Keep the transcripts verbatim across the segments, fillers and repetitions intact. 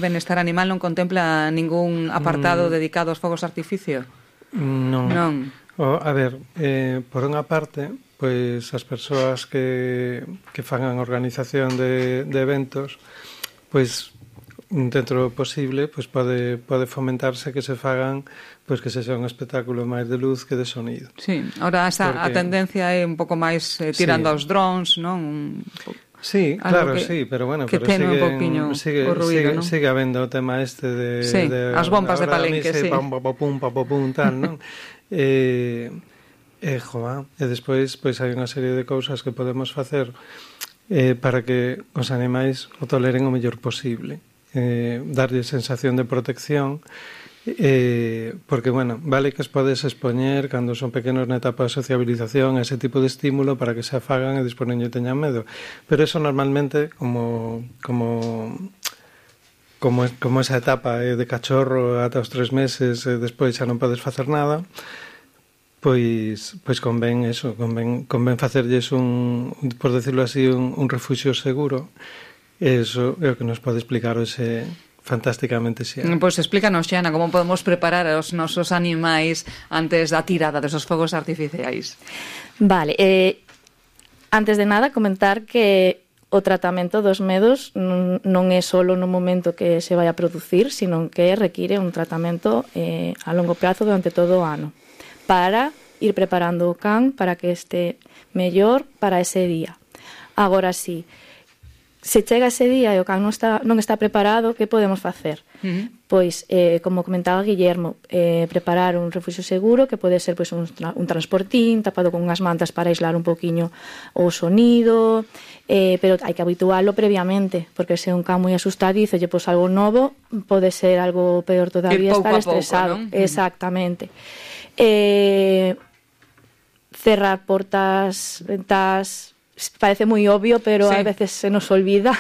Benestar Animal non contempla ningún apartado mm. dedicado aos fogos artificio? Non. Non. O, a ver, eh, por unha parte, pois as persoas que, que fagan organización de, de eventos, pois dentro do posible, pois pode, pode fomentarse que se fagan, pois que se sea un espectáculo máis de luz que de sonido. Sí, ahora esa, Porque, a tendencia é un pouco máis eh, tirando sí. aos drones, non? Un Sí, claro, que, sí, pero bueno, que pero sigue, un sigue, o ruido, sigue, ¿no? sigue habendo o tema este de... Sí, de as bombas de palenque, sí. Pam, pam, pum, pam, pum, tal, non? eh, eh, joa, e despois pois hai unha serie de cousas que podemos facer eh, para que os animais o toleren o mellor posible. Eh, darlle sensación de protección, Eh, porque, bueno, vale que os podes expoñer cando son pequenos na etapa de sociabilización, ese tipo de estímulo para que se afagan e despois non lle teñan medo, pero eso normalmente como como como, como esa etapa eh, de cachorro ata os tres meses e despois xa non podes facer nada, pois pois convén eso, convén, convén facerlles un, por decirlo así, un, un refuxio seguro. Eso é o que nos pode explicar ese fantásticamente, Xiana. Pois pues explícanos, Xiana, como podemos preparar os nosos animais antes da tirada desos fogos artificiais. Vale, eh, antes de nada comentar que o tratamento dos medos non, non é só no momento que se vai a producir, sino que require un tratamento eh, a longo prazo durante todo o ano para ir preparando o can para que este mellor para ese día. Agora sí, se chega ese día e o can non está, non está preparado, que podemos facer? Uh-huh. Pois, eh, como comentaba Guillermo, eh, preparar un refuxio seguro, que pode ser pois, un, tra- un transportín tapado con unhas mantas para aislar un poquinho o sonido, eh, pero hai que habitualo previamente, porque se un can moi asustadizo lle pos algo novo, pode ser algo peor todavía, estar estresado. Pouco, ¿no? Exactamente. Eh, cerrar portas, ventas... Parece moi obvio, pero sí. a veces se nos olvida.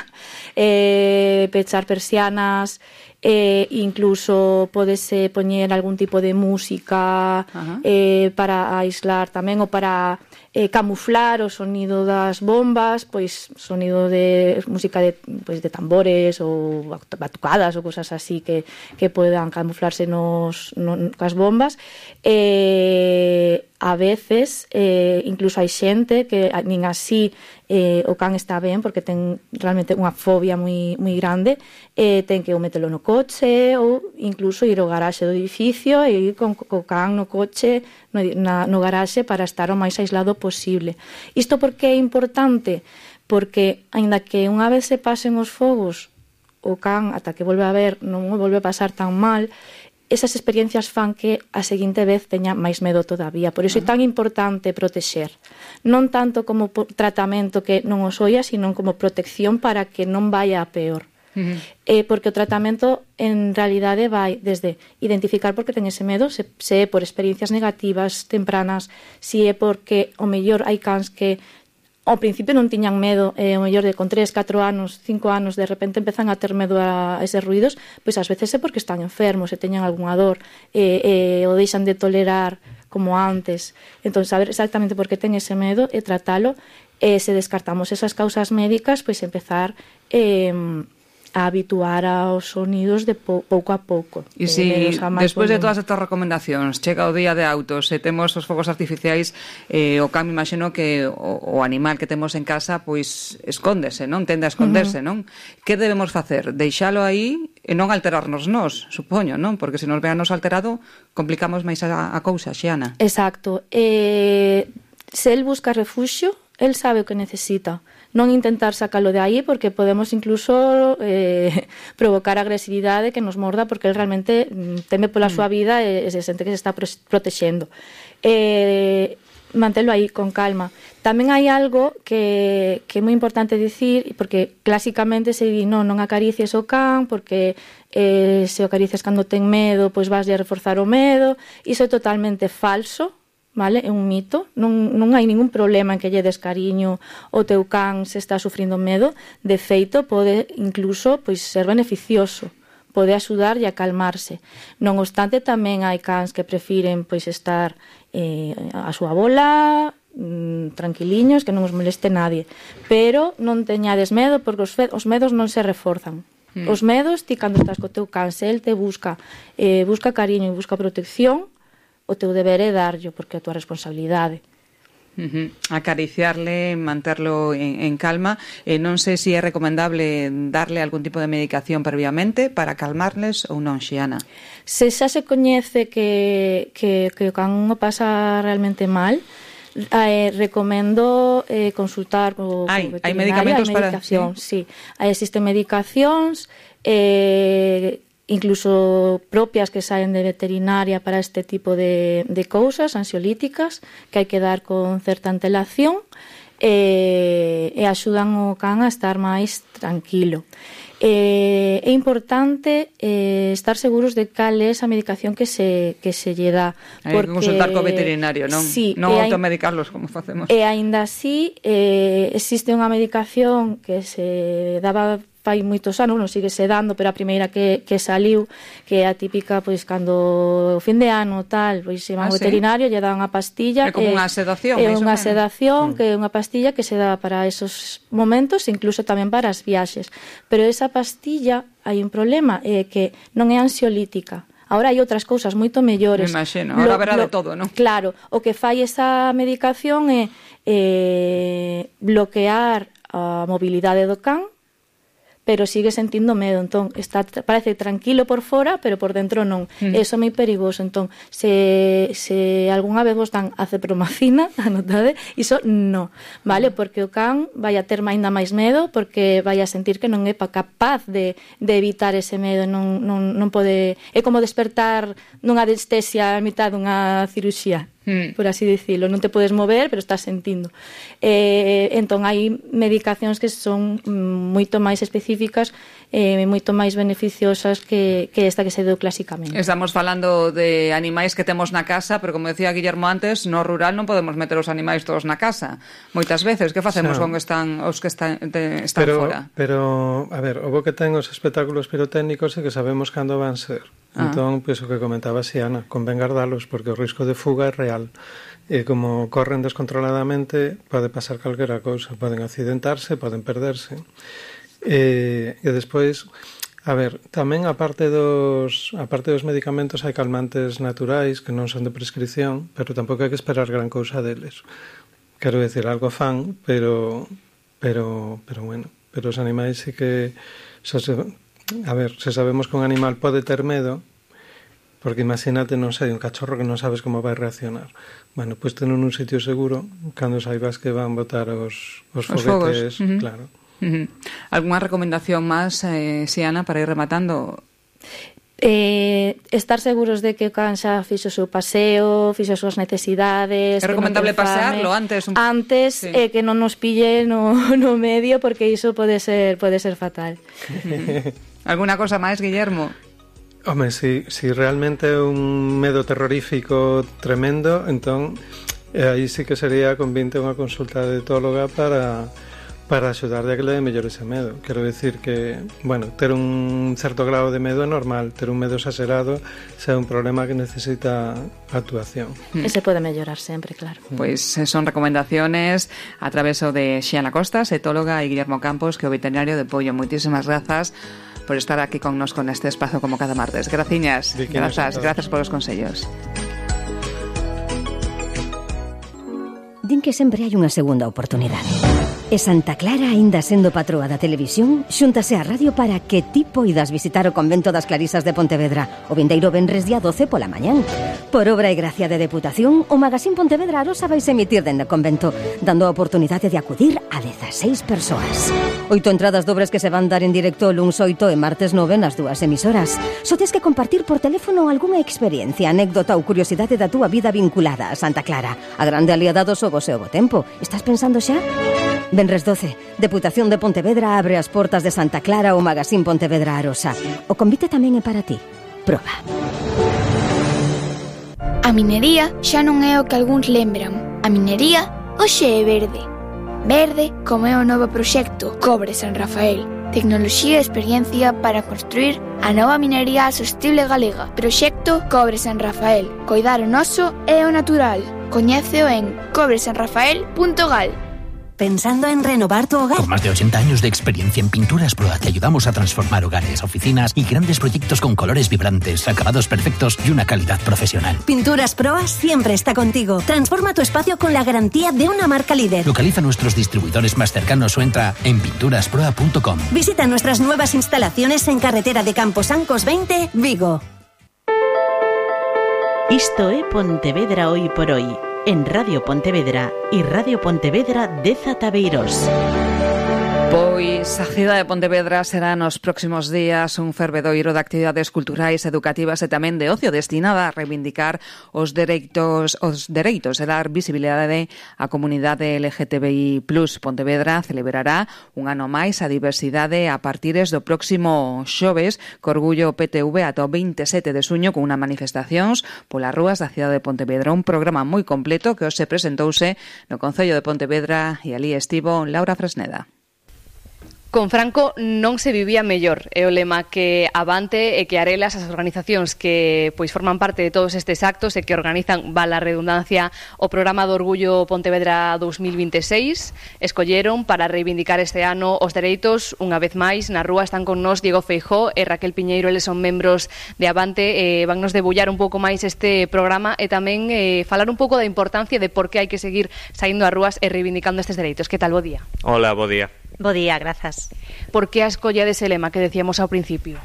Eh, pechar persianas, eh, incluso podese poñer algún tipo de música eh, para aislar tamén, ou para eh, camuflar o sonido das bombas, pois sonido de música de, pois, de tambores ou batucadas ou cosas así que, que podan camuflarse nos, no, cas bombas. Eh, a veces eh, incluso hai xente que nin así eh, o can está ben porque ten realmente unha fobia moi, moi grande, eh, ten que o metelo no coche ou incluso ir ao garaxe do edificio e ir con o can no coche no, na, no garaxe para estar o máis aislado posible. Isto por que é importante? Porque aínda que unha vez se pasen os fogos o can ata que volve a ver non o volve a pasar tan mal, esas experiencias fan que a seguinte vez teña máis medo todavía. Por iso é tan importante protexer. Non tanto como tratamento que non os oia, sino como protección para que non vaya a peor. Uh-huh. Eh, porque o tratamento en realidade vai desde identificar por que ten ese medo, se, se é por experiencias negativas tempranas, se é porque o mellor hai cans que ao principio non tiñan medo, eh, o mellor de con tres, catro anos, cinco anos, de repente empezan a ter medo a eses ruidos, pois ás veces é porque están enfermos e teñan algunha dor, e eh, eh, o deixan de tolerar como antes. Entón, saber exactamente por que ten ese medo e tratalo, e se descartamos esas causas médicas, pois empezar eh, a habituar aos sonidos de pou, pouco a pouco. E se, despois de todas estas recomendacións, chega o día de autos e temos os fogos artificiais, eh, o can, me imagino que o, o animal que temos en casa, pois, escóndese, non? Tende a esconderse, uh-huh. non? Que debemos facer? Deixalo aí e non alterarnos nós, supoño, non? Porque se nos veanos alterado, complicamos máis a, a cousa, Xiana. Exacto. Eh, se el busca refuxio, el sabe o que necesita. Non intentar sacalo de aí porque podemos incluso eh, provocar agresividade que nos morda porque el realmente teme pola mm. súa vida e, e se sente que se está protexendo. Eh, mantelo aí con calma. Tamén hai algo que, que é moi importante dicir, porque clásicamente se di non, non acaricies o can porque eh, se o acaricias cando ten medo pois vas a reforzar o medo. Iso é totalmente falso. Vale? É un mito, non, non hai ningún problema en que lle des cariño o teu can se está sufrindo medo. De feito, pode incluso pois, ser beneficioso, pode axudar e a calmarse. Non obstante, tamén hai cans que prefiren pois, estar eh, a súa bola, mmm, tranquiliños, que non os moleste nadie. Pero non teñades medo, porque os, fe- os medos non se reforzan. Mm. Os medos, ti cando estás co teu can, se el te busca, eh, busca cariño e busca protección, o teu deber é darllo, porque é a tua responsabilidade. Uh-huh. Acariciarle, manterlo en, en calma. Eh, non sei se é recomendable darle algún tipo de medicación previamente para calmarles ou non, Xiana. Se xa se coñece que, que, que o can o pasa realmente mal, eh, recomendo eh, consultar co, hai, co hai medicamentos para... Sí. sí. Hai, existen medicacións eh, incluso propias que saen de veterinaria para este tipo de, de cousas, ansiolíticas, que hai que dar con certa antelación e, e axudan o can a estar máis tranquilo. Eh, é importante eh, estar seguros de cal é esa medicación que se, que se lle dá. Hai que consultar co veterinario, non, sí, non automedicarlos como facemos. E aínda así eh, existe unha medicación que se daba fai moitos anos, non sigue se dando, pero a primeira que, que saliu, que é a típica, pois, cando o fin de ano, tal, pois, se van ah, ao veterinario, sí? lle dan unha pastilla. É como eh, unha sedación. É unha sedación, mm. que é unha pastilla que se dá para esos momentos, incluso tamén para as viaxes. Pero esa pastilla, hai un problema, é que non é ansiolítica. Ahora hai outras cousas moito mellores. Me imagino, ahora verá de todo, non? Claro, o que fai esa medicación é eh, bloquear a mobilidade do can, pero sigue sentindo medo, entón está, parece tranquilo por fora, pero por dentro non. Mm. Eso é moi perigoso, entón se, se algunha vez vos dan acepromacina, anotade, iso non, vale? Porque o can vai a ter ainda máis medo, porque vai a sentir que non é capaz de, de evitar ese medo, non, non, non pode... É como despertar nunha anestesia a mitad dunha cirurxía, mm. por así dicilo, non te podes mover, pero estás sentindo. Eh, entón hai medicacións que son moito máis específicas e eh, moito máis beneficiosas que, que esta que se deu clásicamente. Estamos falando de animais que temos na casa, pero como decía Guillermo antes, no rural non podemos meter os animais todos na casa. Moitas veces, que facemos no. con están, os que están, de, están pero, fora? Pero, a ver, o bo que ten os espectáculos pirotécnicos é que sabemos cando van ser. Ah. Entón, pois, o que comentaba Xiana, convén guardalos, porque o risco de fuga é real. E como corren descontroladamente, pode pasar calquera cousa. Poden accidentarse, poden perderse. E, e despois, a ver, tamén a parte dos, a parte dos medicamentos hai calmantes naturais que non son de prescripción, pero tampouco hai que esperar gran cousa deles. Quero decir, algo fan, pero, pero, pero bueno, pero os animais sí que... Se, a ver, se sabemos que un animal pode ter medo, porque imagínate, non sei, un cachorro que non sabes como vai reaccionar. Bueno, pois pues, ten un sitio seguro, cando saibas que van botar os, os, os foguetes, fogos. Uh-huh. Claro. Uh-huh. ¿Alguna recomendación máis, eh, Xiana, para ir rematando? Eh, estar seguros de que o can xa fixo o seu paseo, fixo as súas necesidades. É recomendable no pasearlo antes? Un... Antes, sí. eh, que non nos pille no, no medio, porque iso pode ser, pode ser fatal. Uh-huh. ¿Alguna cosa máis, Guillermo? Home, si, si realmente é un medo terrorífico tremendo, entón eh, aí sí que sería convinte unha consulta de etóloga para... para axudarle a que le dé mellor ese medo. Quero decir que, bueno, ter un certo grado de medo é normal, ter un medo exagerado xa é un problema que necesita actuación. E se pode mellorar sempre, claro. Pois pues son recomendaciones a través de Xiana Costas, etóloga, e Guillermo Campos, que é o veterinario de Pollo. Moitísimas grazas por estar aquí connosco neste espazo como cada martes. Graciñas, grazas, grazas polos consellos. Din que sempre hai unha segunda oportunidade. E Santa Clara, aínda sendo patroa da televisión, xúntase á radio para que ti poidas visitar o convento das Clarisas de Pontevedra o vindeiro venres día doce pola mañán. Por obra e gracia de Deputación, o Magazín Pontevedra Arosa vais emitir dende o convento, dando a oportunidade de acudir a dezaseis persoas. Oito entradas dobres que se van dar en directo o luns oito e martes nove nas dúas emisoras. Só tes que compartir por teléfono algunha experiencia, anécdota ou curiosidade da túa vida vinculada a Santa Clara, a grande aliada do Sobos e o Bo Tempo. Estás pensando xa? Venres doce, Deputación de Pontevedra abre as portas de Santa Clara ao Magazín Pontevedra Arosa. O convite tamén é para ti. Proba. A minería xa non é o que algúns lembran. A minería hoxe é verde. Verde como é o novo proxecto Cobre San Rafael. Tecnoloxía e experiencia para construir a nova minería sostible galega. Proxecto Cobre San Rafael. Coidar o noso e o natural. Coñéceo en cobre san rafael punto gal. ¿Pensando en renovar tu hogar? Con más de ochenta años de experiencia en Pinturas Proa te ayudamos a transformar hogares, oficinas y grandes proyectos con colores vibrantes, acabados perfectos y una calidad profesional. Pinturas Proa siempre está contigo. Transforma tu espacio con la garantía de una marca líder. Localiza nuestros distribuidores más cercanos o entra en pinturas proa punto com. Visita nuestras nuevas instalaciones en carretera de Camposancos veinte, Vigo. Isto é Pontevedra Hoy por Hoy, en Radio Pontevedra e Radio Pontevedra dez Tabeiros. Pois a cidade de Pontevedra será nos próximos días un fervedoiro de actividades culturais, educativas e tamén de ocio destinada a reivindicar os dereitos os dereitos e dar visibilidade á comunidade L G T B I plus. Pontevedra celebrará un ano máis a diversidade a partires do próximo xoves, co orgullo P T V ata o veintisiete de xuño con unha manifestacións polas rúas da cidade de Pontevedra. Un programa moi completo que hoxe presentouse no Concello de Pontevedra e ali estivo Laura Fresneda. Con Franco non se vivía mellor, é o lema que Avante e que Arelas, as organizacións que pois forman parte de todos estes actos e que organizan, vala a redundancia, o programa do Orgullo Pontevedra dous mil vinte e seis, escolleron para reivindicar este ano os dereitos. Unha vez máis, na rúa están con nós Diego Feijóo e Raquel Piñeiro, eles son membros de Avante, e vannos debullar un pouco máis este programa e tamén eh, falar un pouco da importancia de por que hai que seguir saindo ás rúas e reivindicando estes dereitos. Que tal, bo día? Hola, bo día. Bo día, grazas. Por que a escolla dese lema que decíamos ao principio?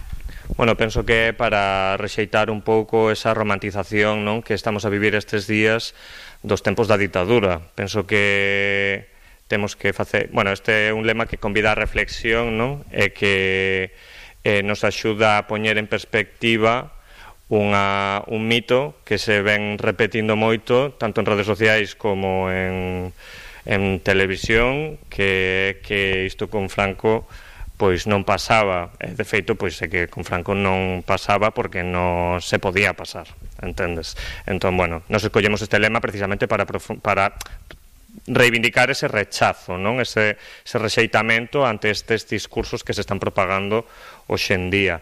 Bueno, penso que é para rexeitar un pouco esa romantización, non, que estamos a vivir estes días dos tempos da ditadura. Penso que temos que facer... Bueno, este é un lema que convida a reflexión, non, e que eh, nos axuda a poñer en perspectiva unha, un mito que se ven repetindo moito, tanto en redes sociais como en... en televisión, que que isto con Franco pois non pasaba. De feito, pois é que con Franco non pasaba porque non se podía pasar, entendes? Entón, bueno, nos escollemos este lema precisamente para para reivindicar ese rechazo, non? Ese, ese rexeitamento ante estes discursos que se están propagando hoxe en día.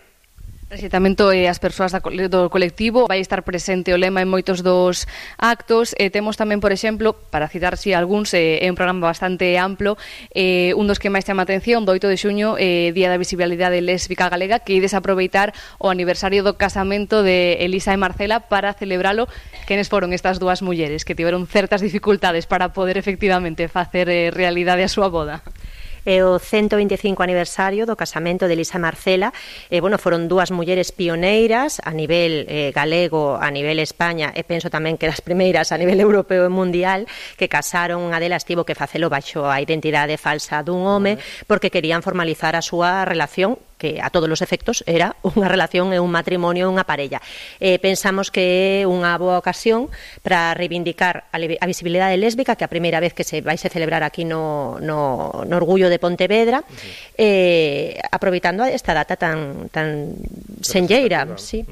Rexeitamento e as persoas do colectivo, vai estar presente o lema en moitos dos actos, e temos tamén, por exemplo, para citar si algúns, é un programa bastante amplo, eh, un dos que máis chama a atención, do oito de xuño, eh, Día da Visibilidade Lésbica Galega, que ides aproveitar o aniversario do casamento de Elisa e Marcela para celebralo. Quenes foron estas dúas mulleres que tiveron certas dificultades para poder efectivamente facer eh, realidade a súa boda? É o ciento vinte e cinco aniversario do casamento de Elisa e Marcela. E, bueno, foron dúas mulleres pioneiras a nivel eh, galego, a nivel España, e penso tamén que das primeiras a nivel europeo e mundial, que casaron. Unha delas tivo que facelo baixo a identidade falsa dun home porque querían formalizar a súa relación, que a todos os efectos era unha relación e un matrimonio, unha parella. Eh, pensamos que é unha boa ocasión para reivindicar a, a visibilidade lésbica, que a primeira vez que se vai se celebrar aquí no, no, no Orgullo de Pontevedra, uh-huh. eh, aproveitando esta data tan tan senlleira, sí.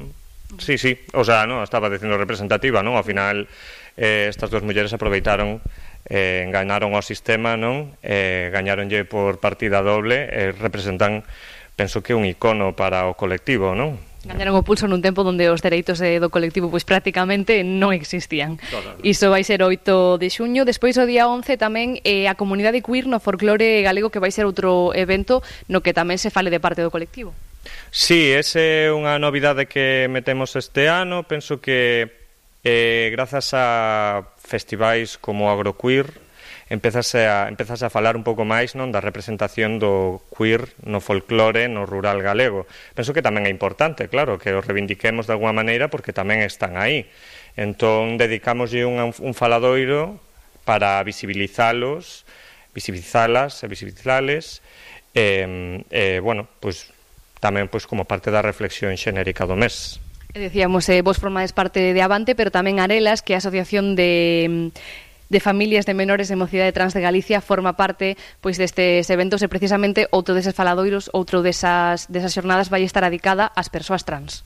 Sí, sí, o sea, no, estaba dicindo representativa, non? Ao final eh, estas dúas mulleres aproveitaron eh, enganaron ao sistema, non? Eh, gañaronlle por partida doble, e eh, representan, penso que un icono para o colectivo, non? Gañaron o pulso nun tempo onde os dereitos do colectivo pois prácticamente non existían. Claro. Iso vai ser o oito de xuño. Despois, o día once, tamén eh, a comunidade queer no folclore galego, que vai ser outro evento no que tamén se fale de parte do colectivo. Sí, ese é unha novidade que metemos este ano. Penso que eh, grazas a festivais como Agroqueer empezase a, empezase a falar un pouco máis, non, da representación do queer no folclore no rural galego. Penso que tamén é importante, claro, que os reivindiquemos de alguma maneira porque tamén están aí. Entón, dedicámoslle un, un faladoiro para visibilizalos, visibilizalas e visibilizales, e, e bueno, pois, tamén pois, como parte da reflexión xenérica do mes. Decíamos, eh, vos formades parte de Avante, pero tamén Arelas, que é a asociación de... de familias de menores de Mocidade Trans de Galicia, forma parte pois destes eventos, e precisamente outro deses faladoiros, outro desas, desas xornadas vai estar dedicada ás persoas trans.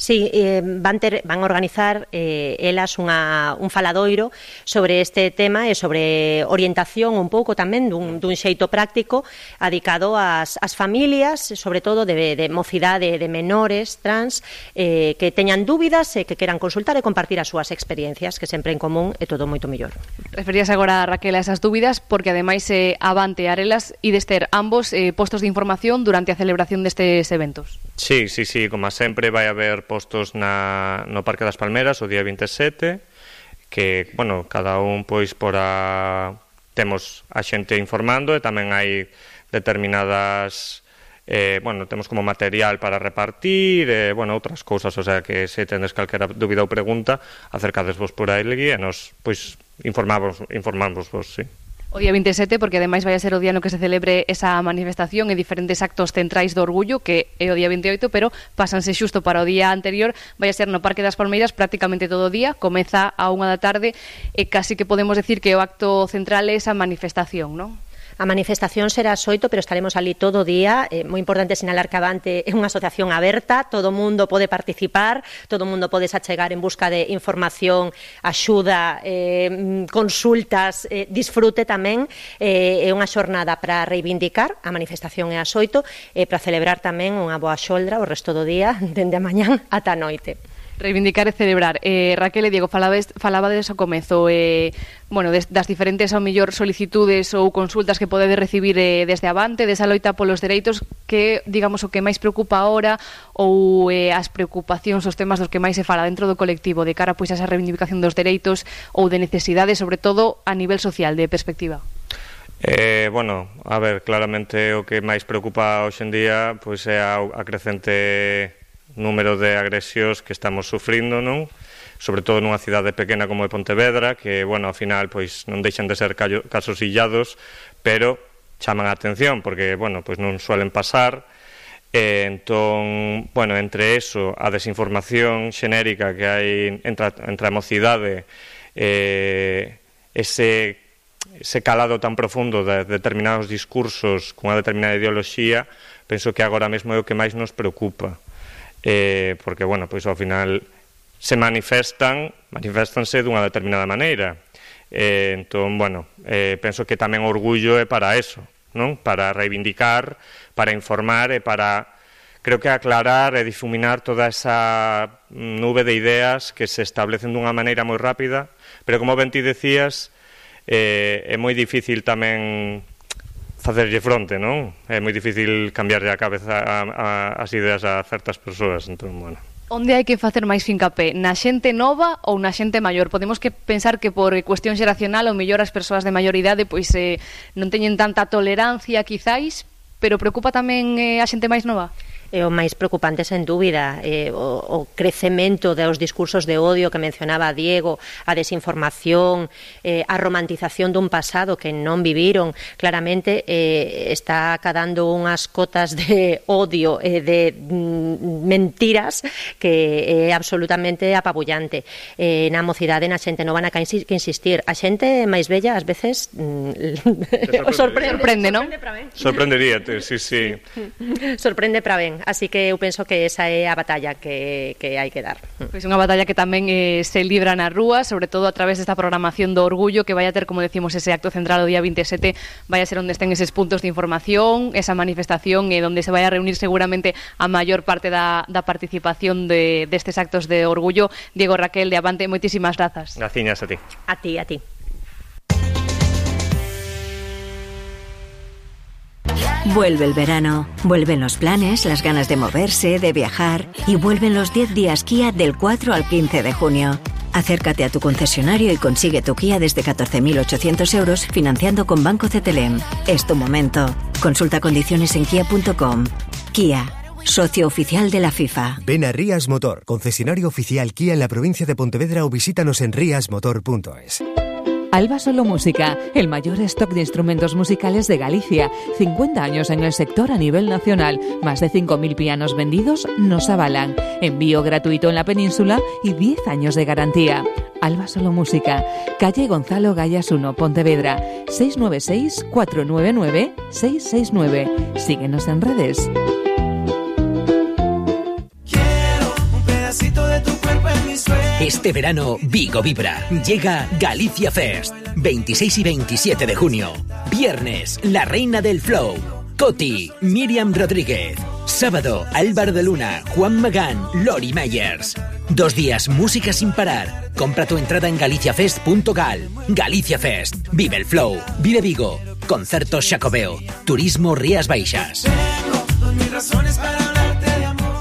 Sí, eh, van, ter, van organizar eh, elas unha, un faladoiro sobre este tema e sobre orientación un pouco tamén dun, dun xeito práctico adicado ás, ás familias, sobre todo de, de mocidade de menores trans eh, que teñan dúbidas e que queran consultar e compartir as súas experiencias, que sempre en común é todo moito mellor. Referías agora, Raquel, a esas dúbidas porque ademais eh, Avante e Arelas ides ter ambos eh, postos de información durante a celebración destes eventos. Sí, sí, sí, como sempre vai haber postos na, no Parque das Palmeras o día vinte e sete, que, bueno, cada un, pois, por a... temos a xente informando e tamén hai determinadas... Eh, bueno, temos como material para repartir e, bueno, outras cousas, o sea, que se tendes calquera dúbida ou pregunta, acercadesvos por aí e nos, pois, informamos, informamos vos, sí. O día vinte e sete, porque ademais vai a ser o día no que se celebre esa manifestación e diferentes actos centrais do orgullo, que é o día vinte e oito, pero pásanse xusto para o día anterior, vai a ser no Parque das Palmeiras prácticamente todo o día, comeza a unha da tarde e casi que podemos decir que o acto central é esa manifestación, non? A manifestación será ás oito, pero estaremos ali todo o día. É moi importante sinalar que Avante é unha asociación aberta, todo o mundo pode participar, todo o mundo pode achegar en busca de información, axuda, eh, consultas, eh, disfrute tamén. Eh, é unha xornada para reivindicar, a manifestación é ás oito, e para celebrar tamén unha boa xoldra o resto do día, dende a mañán ata a noite. Reivindicar e celebrar. Eh, Raquel e Diego, falabades, falabades ao comezo eh, bueno, des, das diferentes ao mellor solicitudes ou consultas que podedes recibir eh, desde Avante, desa loita polos dereitos, que, digamos, o que máis preocupa ahora ou eh, as preocupacións, os temas dos que máis se fala dentro do colectivo de cara pois a esa reivindicación dos dereitos ou de necesidades, sobre todo a nivel social, de perspectiva? Eh, bueno, a ver, claramente o que máis preocupa hoxe en día pois é a, a crecente número de agresións que estamos sufrindo, non? Sobre todo nunha cidade pequena como é Pontevedra, que, bueno, ao final, pois non deixan de ser callo, casos illados, pero chaman a atención, porque, bueno, pois non suelen pasar. E, entón, bueno, entre eso, a desinformación xenérica que hai entre, entre a mocidade, eh, ese, ese calado tan profundo de determinados discursos cunha determinada ideoloxía, penso que agora mesmo é o que máis nos preocupa. Eh, porque, bueno, pois ao final se manifestan, manifestanse dunha determinada maneira. Eh, entón, bueno, eh, penso que tamén o orgullo é para eso, non? Para reivindicar, para informar e para, creo que aclarar e difuminar toda esa nube de ideas que se establecen dunha maneira moi rápida, pero como ben ti decías, eh, é moi difícil tamén facerlle fronte, non? É moi difícil cambiarlle a cabeza a, a, as ideas a certas persoas, entón, bueno. Onde hai que facer máis fincapé? Na xente nova ou na xente maior? Podemos que pensar que por cuestión xeracional ou mellor as persoas de maior idade pois eh, non teñen tanta tolerancia, quizáis, pero preocupa tamén eh, a xente máis nova? É o máis preocupante, sen dúbida, eh, o, o crecemento dos discursos de odio que mencionaba Diego, a desinformación, eh, a romantización dun pasado que non viviron, claramente eh, está cadando unhas cotas de odio e eh, de mm, mentiras que é absolutamente apabullante. Eh, na mocidade, na xente non van a que insistir. A xente máis bella, ás veces, mm, sorprende, sorprende, non? Sorprenderíate, sí, sí. Sorprende para ben. Así que eu penso que esa é a batalla que, que hai que dar. Pois unha batalla que tamén eh, se libra na rúa, sobre todo a través desta programación do orgullo, que vai a ter, como decimos, ese acto central o día vinte e sete, vai a ser onde estén eses puntos de información, esa manifestación, e eh, onde se vai a reunir seguramente a maior parte da, da participación de, destes actos de orgullo. Diego, Raquel, de Avante, moitísimas grazas. Graciñas a ti. A ti, a ti. Vuelve el verano, vuelven los planes, las ganas de moverse, de viajar y vuelven los diez días Kia del cuatro al quince de junio. Acércate a tu concesionario y consigue tu Kia desde catorce mil ochocientos euros financiando con Banco C T L M. Es tu momento. Consulta condiciones en kia punto com. Kia, socio oficial de la FIFA. Ven a Rías Motor, concesionario oficial Kia en la provincia de Pontevedra, o visítanos en rias motor punto es. Alba Solo Música, el mayor stock de instrumentos musicales de Galicia. cincuenta años en el sector a nivel nacional. Más de cinco mil pianos vendidos nos avalan. Envío gratuito en la península y diez años de garantía. Alba Solo Música, calle Gonzalo Gallas uno, Pontevedra, seis nueve seis, cuatro nueve nueve, seis seis nueve. Síguenos en redes. Quiero un pedacito Este verano, Vigo vibra. Llega Galicia Fest. veintiséis y veintisiete de junio. Viernes, La Reina del Flow. Coti, Miriam Rodríguez. Sábado, Álvaro de Luna, Juan Magán, Lori Meyers. Dos días, música sin parar. Compra tu entrada en galiciafest punto gal. Galicia Fest. Vive el flow. Vive Vigo. Concertos Xacobeo. Turismo Rías Baixas. Tengo mis razones para hablarte de amor.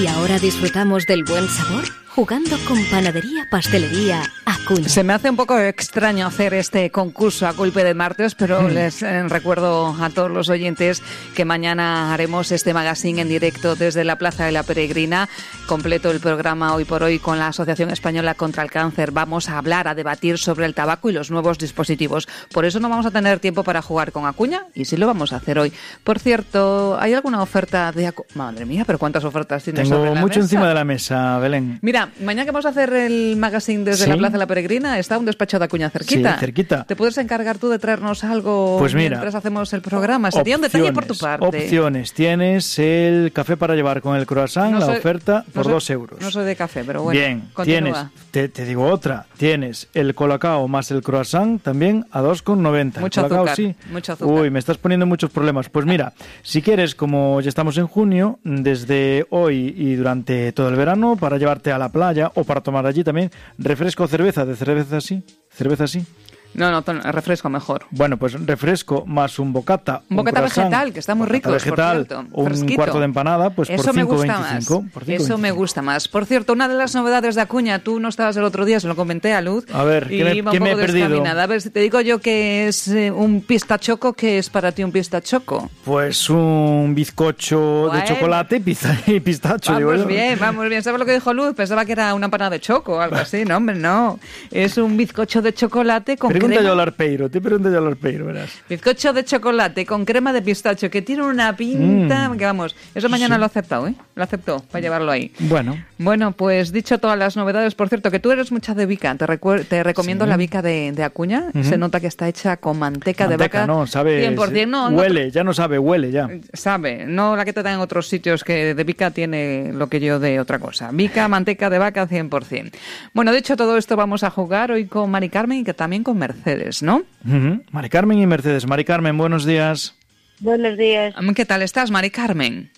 Y ahora disfrutamos del buen sabor jugando con Panadería Pastelería Acuña. Se me hace un poco extraño hacer este concurso a golpe de martes, pero mm. les eh, recuerdo a todos los oyentes que mañana haremos este magazine en directo desde la Plaza de la Peregrina. Completo el programa hoy por hoy con la Asociación Española contra el Cáncer. Vamos a hablar, a debatir sobre el tabaco y los nuevos dispositivos. Por eso no vamos a tener tiempo para jugar con Acuña y sí lo vamos a hacer hoy. Por cierto, ¿hay alguna oferta de Acuña? Madre mía, pero ¿cuántas ofertas tienes Tengo sobre la mucho mesa? Encima de la mesa, Belén. Mira, mañana que vamos a hacer el magazine desde ¿Sí? la Plaza de la Peregrina, está un despacho de Acuña cerquita. Sí, cerquita. ¿Te puedes encargar tú de traernos algo pues mira, mientras hacemos el programa? Sería un detalle por tu parte. Opciones. Tienes el café para llevar con el croissant, no la soy, oferta no por soy, dos euros. No soy de café, pero bueno, bien, continúa. Tienes, te, te digo otra, tienes el colacao más el croissant también a dos con noventa. Mucho colacao, azúcar, sí. mucho azúcar. Uy, me estás poniendo muchos problemas. Pues mira, si quieres, como ya estamos en junio, desde hoy y durante todo el verano, para llevarte a la playa o para tomar allí también, refresco o cerveza, de cerveza así, cerveza así. No, no, refresco mejor. Bueno, pues refresco más un bocata. Un bocata vegetal, que está muy rico, vegetal, por cierto. Un Fresquito. cuarto de empanada, pues Eso por me cinco gusta veinticinco. más. Por cinco Eso veinticinco. me gusta más. Por cierto, una de las novedades de Acuña, tú no estabas el otro día, se lo comenté a Luz. A ver, ¿qué me, iba ¿qué un me he poco perdido? descaminada. A ver, si te digo yo que es eh, un pistachoco, ¿qué es para ti un pistachoco? Pues un bizcocho bueno. de chocolate y, pizza, y pistacho. Vamos digo yo. bien, vamos bien. ¿Sabes lo que dijo Luz? Pensaba que era una empanada de choco o algo así. No, hombre, no. Es un bizcocho de chocolate con Pregunta crema. yo al arpeiro, te pregunto yo al arpeiro, verás. Bizcocho de chocolate con crema de pistacho, que tiene una pinta... Mm. Que vamos, eso mañana sí. Lo ha aceptado, ¿eh? Lo aceptó, para llevarlo ahí. Bueno. Bueno, pues dicho todas las novedades, por cierto, que tú eres mucha de Vica. Te, recuer- te recomiendo sí. la Vica de, de Acuña. Uh-huh. Se nota que está hecha con manteca, manteca de vaca. no, sabe... cien por ciento, no, huele, no, ya no sabe, huele ya. Sabe, no la que te dan en otros sitios, que de Vica tiene lo que yo de otra cosa. Vica, manteca de vaca, cien por ciento. Bueno, dicho todo esto, vamos a jugar hoy con Mari Carmen y que también con Mercedes, ¿no? Uh-huh. Mari Carmen y Mercedes. Mari Carmen, buenos días. Buenos días. ¿Qué tal estás, Mari Carmen?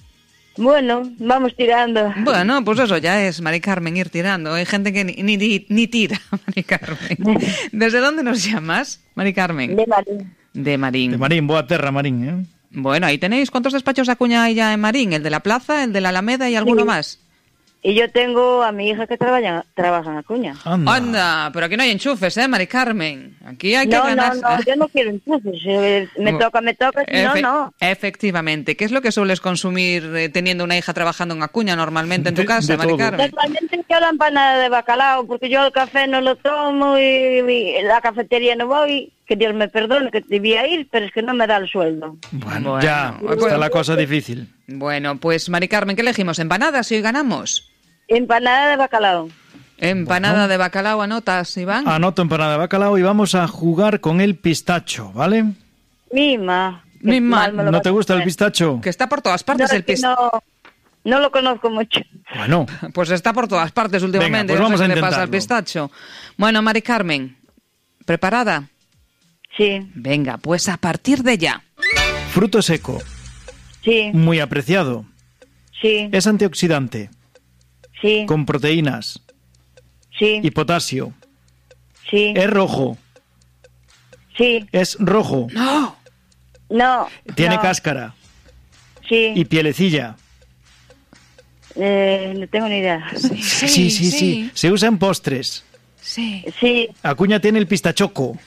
Bueno, vamos tirando. Bueno, pues eso ya es, Mari Carmen, ir tirando. Hay gente que ni, ni, ni tira, Mari Carmen. ¿Desde dónde nos llamas, Mari Carmen? De Marín. De Marín. De Marín, boa terra, Marín, ¿eh? Bueno, ahí tenéis. ¿Cuántos despachos de Acuña hay ya en Marín? ¿El de la Plaza, el de la Alameda y alguno sí. más? Y yo tengo a mi hija que trabaja, trabaja en Acuña. Anda. Anda, pero aquí no hay enchufes, ¿eh, Mari Carmen? Aquí hay que no, ganar... No, no, yo no quiero enchufes. Me toca, me toca, si Efe- no, no. Efectivamente. ¿Qué es lo que sueles consumir eh, teniendo una hija trabajando en Acuña normalmente en tu casa, Mari Carmen? Normalmente yo la empanada de bacalao, porque yo el café no lo tomo y, y la cafetería no voy. Que Dios me perdone, que debía ir, pero es que no me da el sueldo. Bueno, bueno ya, bueno, está la cosa difícil. Bueno, pues Mari Carmen, ¿qué elegimos? ¿Empanadas si hoy ganamos? Empanada de bacalao. Empanada bueno. de bacalao, ¿anotas, Iván? Anoto empanada de bacalao y vamos a jugar con el pistacho, ¿vale? Mima. Mima. ¿No te gusta el pistacho? Que está por todas partes no, el pistacho. No, no lo conozco mucho. Bueno. Pues está por todas partes últimamente. Venga, pues vamos no sé a qué le intentarlo. pasa al pistacho. Bueno, Mari Carmen, ¿preparada? Sí. Venga, pues a partir de ya. Fruto seco. Sí. Muy apreciado. Sí. Es antioxidante. Sí. Con proteínas. Sí. Y potasio. Sí. Es rojo. Sí. Es rojo. No. No. Tiene no. cáscara. Sí. Y pielecilla. Eh, no tengo ni idea. Sí sí, sí, sí, sí. Se usa en postres. Sí. Sí. Acuña tiene el pistachoco.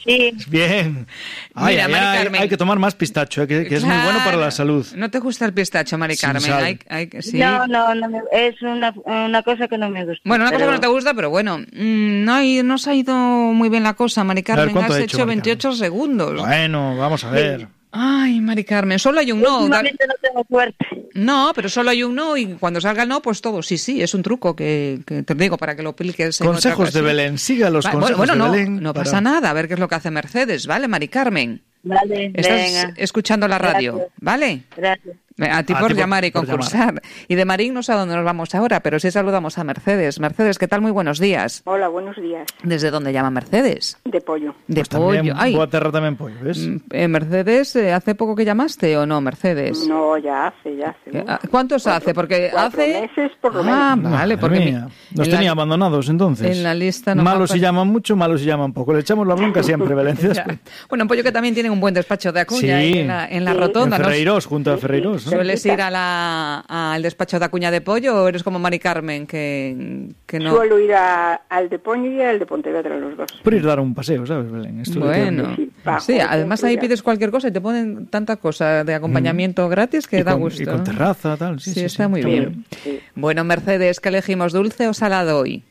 Sí. Bien. Ay, Mira, ay, Mari ay, Carmen. hay que tomar más pistacho, eh, que, que claro. es muy bueno para la salud. ¿No te gusta el pistacho, Mari Carmen? Hay, hay, ¿sí? No, no, no me, es una, una cosa que no me gusta. Bueno, una pero... cosa que no te gusta, pero bueno, mmm, no, hay, no se ha ido muy bien la cosa, Mari Carmen. Ver, has ha hecho, hecho veintiocho segundos. Bueno, vamos a ver. Sí. Ay, Mari Carmen, solo hay un no. Últimamente no tengo suerte. No, pero solo hay un no y cuando salga el no, pues todo. Sí, sí, es un truco que, que te digo para que lo apliques en Consejos de Belén, siga los Va, consejos bueno, bueno, de no, Belén. No para... pasa nada, a ver qué es lo que hace Mercedes, ¿vale, Mari Carmen? Vale, Estás venga. escuchando la radio, Gracias. ¿vale? Gracias. A ti por, a ti por llamar y concursar. Llamar. Y de Marín no sé a dónde nos vamos ahora, pero sí saludamos a Mercedes. Mercedes, ¿qué tal? Muy buenos días. Hola, buenos días. ¿Desde dónde llama Mercedes? De Pollo. De pues Pollo. También, Boa Terra también Pollo, ¿ves? Eh, Mercedes, ¿hace poco que llamaste o no, Mercedes? No, ya hace, ya hace. ¿No? ¿Cuántos cuatro, hace? Porque cuatro hace... meses por lo ah, menos. vale, porque... Mía. Nos tenía la... abandonados entonces. En la lista no malos si llaman mucho, malos si llaman poco. Le echamos la bronca siempre, Valencia. Bueno, un Pollo que también tiene un buen despacho de Acuña sí. en la, en la sí. rotonda. En Ferreiros, ¿no? Junto a Ferreiros. ¿no? ¿Sueles ir a la, al despacho de Acuña de Pollo o eres como Mari Carmen que, que no? Suelo ir a, al de Pollo y al de Pontevedra, los dos. Por ir a dar un paseo, ¿sabes, Belén? Esto bueno, sí, sí, además ahí pides cualquier cosa y te ponen tanta cosa de acompañamiento mm. gratis que y da con, gusto. Y con terraza, tal. Sí, sí, sí está sí, muy está bien. bien. Sí. Bueno, Mercedes, ¿qué elegimos, dulce o salado hoy?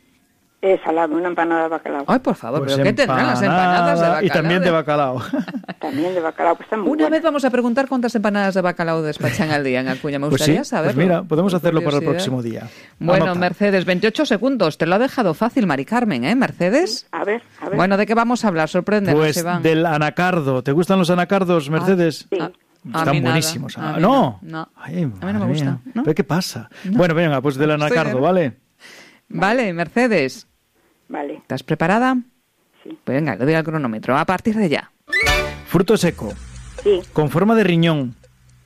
Eh, salado, una empanada de bacalao. Ay, por favor, pues ¿pero qué tendrán las empanadas de bacalao? Y también de bacalao. También de bacalao, pues están muy Una buenas. vez vamos a preguntar cuántas empanadas de bacalao despachan al día en Acuña. Me gustaría pues sí, saberlo. Pues mira, podemos por hacerlo para el curiosidad. próximo día. Bueno, Anota. Mercedes, veintiocho segundos. Te lo ha dejado fácil, Mari Carmen, ¿eh, Mercedes? A ver, a ver. Bueno, ¿de qué vamos a hablar? Sorpréndenos, Pues Iván. del anacardo. ¿Te gustan los anacardos, Mercedes? Sí. Ah, a Están mí nada. buenísimos. A Ah, mí no. no. Ay, A mí no me gusta. mía. ¿No? ¿Pero qué pasa? No. Bueno, venga, pues del anacardo, Estoy ¿vale? Vale, Mercedes. Vale. ¿Estás preparada? Sí. Pues venga, le doy al cronómetro. A partir de ya. Fruto seco. Sí. Con forma de riñón.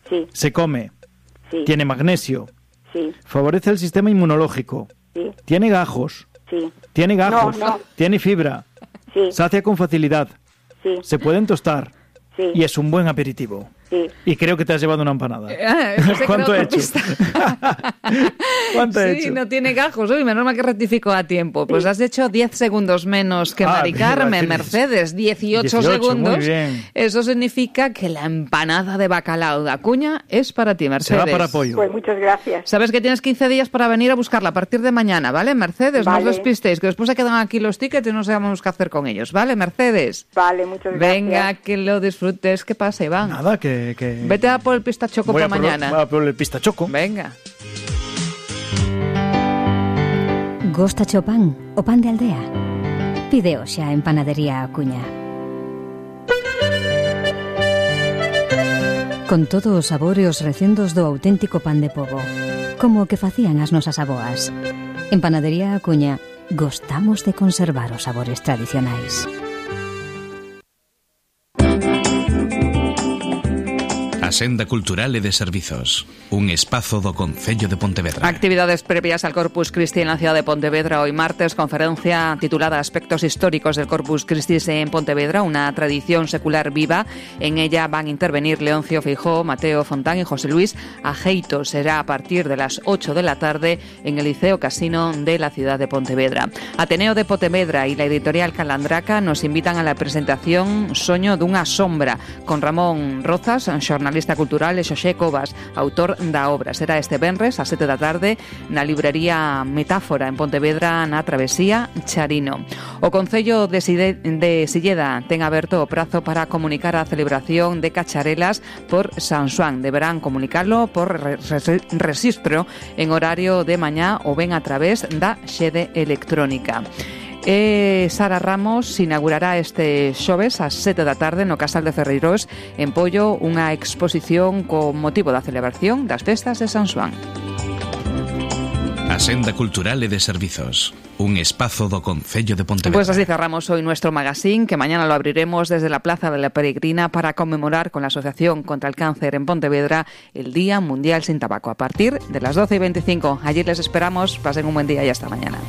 Sí. Se come. Sí. Tiene magnesio. Sí. Favorece el sistema inmunológico. Sí. Tiene gajos. Sí. Tiene gajos. No, no. Tiene fibra. Sí. Sacia con facilidad. Sí. Se pueden tostar. Sí. Y es un buen aperitivo. Sí. Y creo que te has llevado una empanada. Ah, eso sí, ¿Cuánto creo he que hecho? ¿Cuánto he Sí, hecho? no tiene gajos. Uy, menos mal que rectifico a tiempo. Pues has hecho diez segundos menos que Ah, Mari mira, Carmen. tienes Mercedes, dieciocho, dieciocho, segundos. muy bien. Eso significa que la empanada de bacalao de Acuña es para ti, Mercedes. Será para apoyo. Pues muchas gracias. Sabes que tienes quince días para venir a buscarla a partir de mañana, ¿vale, Mercedes? No Vale. os despistéis, que después se quedan aquí los tickets y no sabemos qué hacer con ellos, ¿vale, Mercedes? Vale, muchas gracias. Venga, que lo disfrutes. ¿Qué pasa, Iván? Nada, que... que... Vete a por el pistachoco Voy para a por, mañana. Voy a por el pistachoco. Venga. Gosta o pan, o pan de aldea. Pide hoxe a en Panadería Acuña. Con todos os sabores e os recendos do auténtico pan de pobo, como o que facían as nosas aboas. En Panadería Acuña gostamos de conservar os sabores tradicionais. A Senda Cultural e de Servizos, un espazo do Concello de Pontevedra. Actividades previas al Corpus Christi en la ciudad de Pontevedra. Hoy martes, conferencia titulada Aspectos históricos del Corpus Christi en Pontevedra, una tradición secular viva. En ella van a intervenir Leoncio Feijóo, Mateo Fontán y José Luis Ajeito. Será a partir de las ocho de la tarde en el Liceo Casino de la ciudad de Pontevedra. Ateneo de Pontevedra y la editorial Calandraca nos invitan a la presentación Soño dunha sombra con Ramón Rozas, xornalista cultural, e Xoxé Cobas, autor da obra. Será este venres a sete da tarde na librería Metáfora en Pontevedra, na travesía Charino. O Concello de, Side, de Silleda ten aberto o prazo para comunicar a celebración de cacharelas por San Xoán. Deberán comunicarlo por re, re, rexistro en horario de mañá ou ben a través da xede electrónica. E Sara Ramos inaugurará este xoves ás sete da tarde no Casal de Ferreiros en Pollo unha exposición con motivo da celebración das festas de San Xoán. A Senda Cultural e de Servizos, un espazo do Concello de Pontevedra. Pues así cerramos hoy nuestro magazine, que mañana lo abriremos desde la Plaza de la Peregrina para conmemorar con la Asociación contra el Cáncer en Pontevedra el Día Mundial sin Tabaco a partir de las doce y veinticinco. Allí les esperamos, pasen un buen día y hasta mañana.